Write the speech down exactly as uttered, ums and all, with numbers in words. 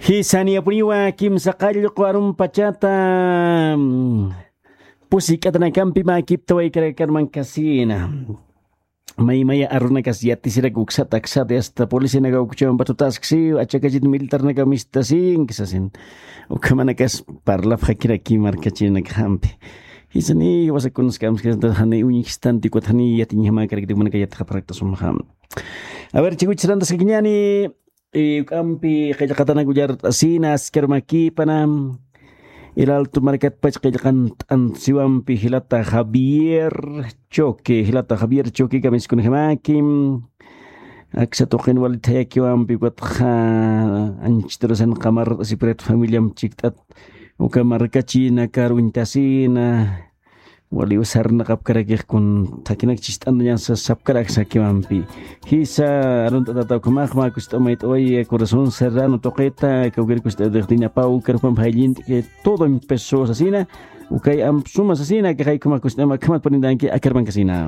Jisa, niyapuniwa kimsa qallqu arumpachata, mm, pusi k'atanakampi mä kiptawaykarakakarman kasina. Maymaya arunakas yatisirak uksata aksata, hasta policianaka ukchawan patutasksi, achakachit militarnaka mistasinki sasin. Ukhamanakas parlapxakiraki markachinakxampi. Jisa, ni wasakunas kamskasanta jani uñjstanti, ukat jani yatiñjamakarakti, ukhamanaka yatxapxarakta sumxam. A ver, chikuchis rantaskakiñani, eh, uk'ampi qillqatanak ullart'asina, askarumakipana. El Alto markatpach qillqant'ansiwampi jilata Javier Choque, jilata Javier Choque kamiskunjamaki. Aksa tuqin wali thayakiwampi, ukatxa anchitarusan qamart'asipurat familiam chikt'at, uka markachinakar uñtasina. Waliw sarnaqapkarakix kun thakinak chist'antañasa sapkarak sakiwampi. Jisa, arunt'atata ukhamax mä kust'amayt'awaya Corazón Serrano tuqita, kawkir kust'atix Dina Pau, karpam jayllint'ki todo empezó sasina, ukay amp suma sasina, kaxay ukhamax kust'ama, akhamat purintanki, akarman kasina.